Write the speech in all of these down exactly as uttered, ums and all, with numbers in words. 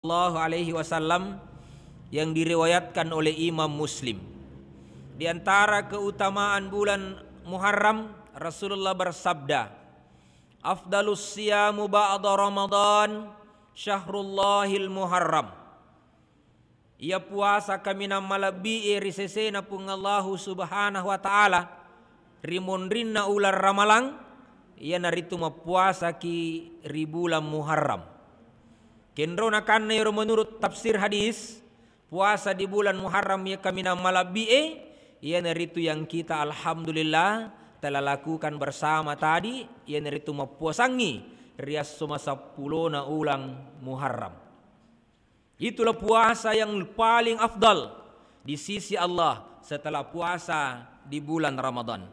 Sallallahu Alaihi Wasallam yang diriwayatkan oleh Imam Muslim. Di antara keutamaan bulan Muharram, Rasulullah bersabda, "Afdalus siyamu ba'da Ramadan syahrullahil Muharram." Iya puasa kaminang malebbi'e ri sesena Puang Allahu Subhanahu wa Ta'ala ri monrinna uleng Ramalang, iyanaritu mappuasaki ri bulan Muharram. Kenrona kanna ero menurut tafsir hadis, puasa di bulan Muharram iya kaminang malebbi'e, iyanaritu yang kita alhamdulillah telah lakukan bersama tadi, iyanaritu mappuasangngi ri esso maseppulona uleng Muharram. Itulah puasa yang paling afdal di sisi Allah setelah puasa di bulan Ramadan.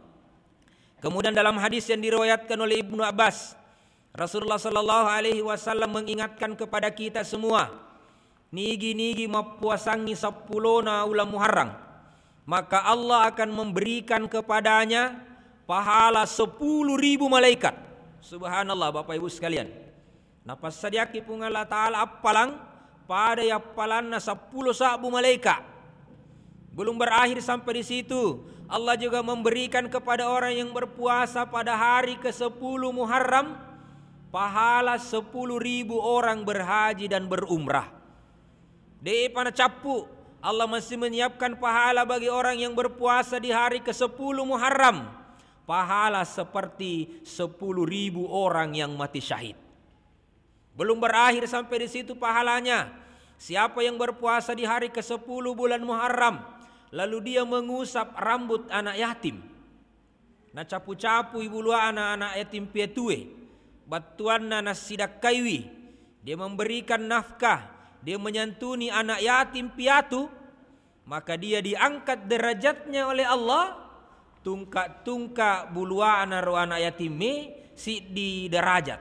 Kemudian dalam hadis yang diriwayatkan oleh Ibnu Abbas, Rasulullah sallallahu alaihi wasallam mengingatkan kepada kita semua, nigi-nigi mappuasangngi seppulona uleng Muharram, maka Allah akan memberikan kepadanya pahala sepuluh ribu malaikat. Subhanallah, Bapak Ibu sekalian. Napassadiakki Puang Allah Ta'ala appalang pada yappalanna seppulo sabbu malaika. Belum berakhir sampai di situ, Allah juga memberikan kepada orang yang berpuasa pada hari kesepuluh Muharram pahala sepuluh ribu orang berhaji dan berumrah. De'pa nacappu, Allah masih menyiapkan pahala bagi orang yang berpuasa di hari kesepuluh Muharram, pahala seperti sepuluh ribu orang yang mati syahid. Belum berakhir sampai di situ pahalanya. Siapa yang berpuasa di hari kesepuluh bulan Muharram, lalu dia mengusap rambut anak yatim, nacapu-capui buluana anak yatim piatue, battuanna nassidakkaiwi, dia memberikan nafkah, dia menyantuni anak yatim piatu, maka dia diangkat derajatnya oleh Allah, tungka-tungka buluana ro anak yatimme siddi derajat.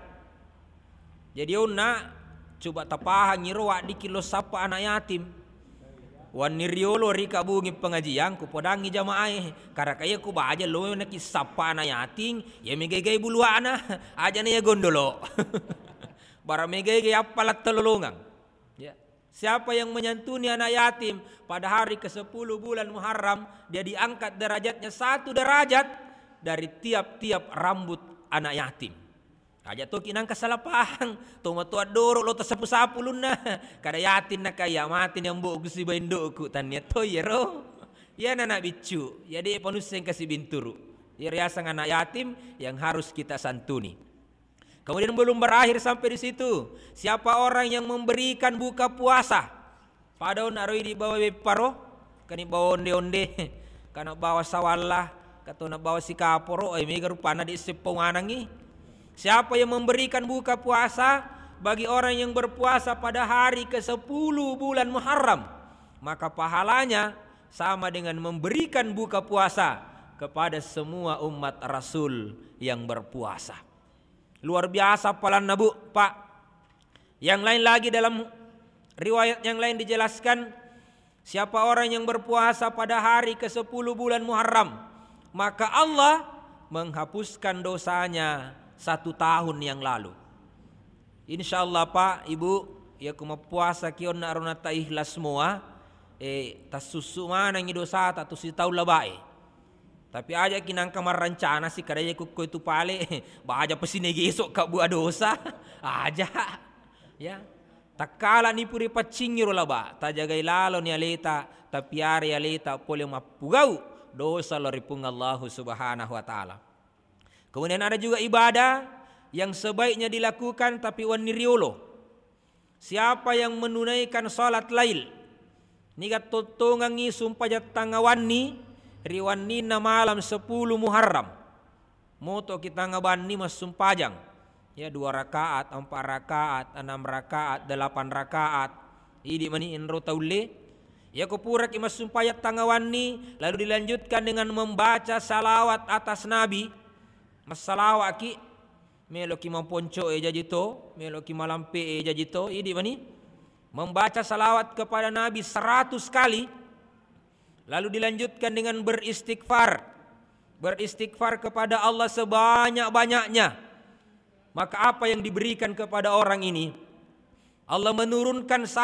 Jadi onna, coba tapahangi ro waddikki lo sappa anak yatim. Wanni riolo ri kabungi pengajian, ku podangi jamaah e, karena kaya ku baja lo naki sappa anak yatim, ya megai-gai buluana, aja na ya gondolo. Bara megai-gai appalang telolongang. Ya. Siapa yang menyantuni anak yatim pada hari kesepuluh bulan Muharram, dia diangkat derajatnya satu derajat dari tiap-tiap rambut anak yatim. Aja toki nangka salah pahang, tomatoa doro lo tasapu-sapu lunna. Kada yatim naka iya, mati ni ambo'ku sibawa indo'ku, tania to iyaro. Iyana anak biccu, ya de' panusseng kasi binturu. Iya riaseng anak yatim yang harus kita santuni. Kemudian belum berakhir sampai di situ. Siapa orang yang memberikan buka puasa? Pada onna ro idi bawa bepparo, kani bawa onde-onde, kana bawa sawalla, katona bawa sikaporo, eh, mega rupanna di seppo manangi. Siapa yang memberikan buka puasa bagi orang yang berpuasa pada hari kesepuluh bulan Muharram, maka pahalanya sama dengan memberikan buka puasa kepada semua umat Rasul yang berpuasa. Luar biasa appalanna, Bu, Pak. Yang lain lagi, dalam riwayat yang lain dijelaskan, siapa orang yang berpuasa pada hari kesepuluh bulan Muharram, maka Allah menghapuskan dosanya satu tahun yang lalu. Insya Allah, Pak, Ibu, iya ku mappuasa ki onna ro nata ikhlas mua, eh, tassussu manengi dosata tu sitaung labae. Tapi aja ki nangka marrencana si kadaya kukko itu pale, baja pasi negeso ka bua dosa. Aja. Ya. Takkala ni puri paccingi ro laba, tajagai lalo ni aleta, tapiara aleta pole mappugau dosa lao ri Puang Allahu Subhanahu wa Ta'ala. Kemudian ada juga ibadah yang sebaiknya dilakukan tapi wenni riolo. Siapa yang menunaikan salat lail, niga tottongengngi sumpajang tangawanni ri wenninna malam sepuluh Muharram, motoki tangawanni massumpajang, ya, dua rakaat, empat rakaat, enam rakaat, delapan rakaat, idi mani enro taulle. Yako puraki massumpajang tangawanni, lalu dilanjutkan dengan membaca salawat atas Nabi, massalawatki, meloki maponco e jaji to, meloki malampe e jaji to, idi mani. Membaca salawat kepada Nabi seratus kali, lalu dilanjutkan dengan beristighfar. Beristighfar kepada Allah sebanyak-banyaknya. Maka apa yang diberikan kepada orang ini? Allah menurunkan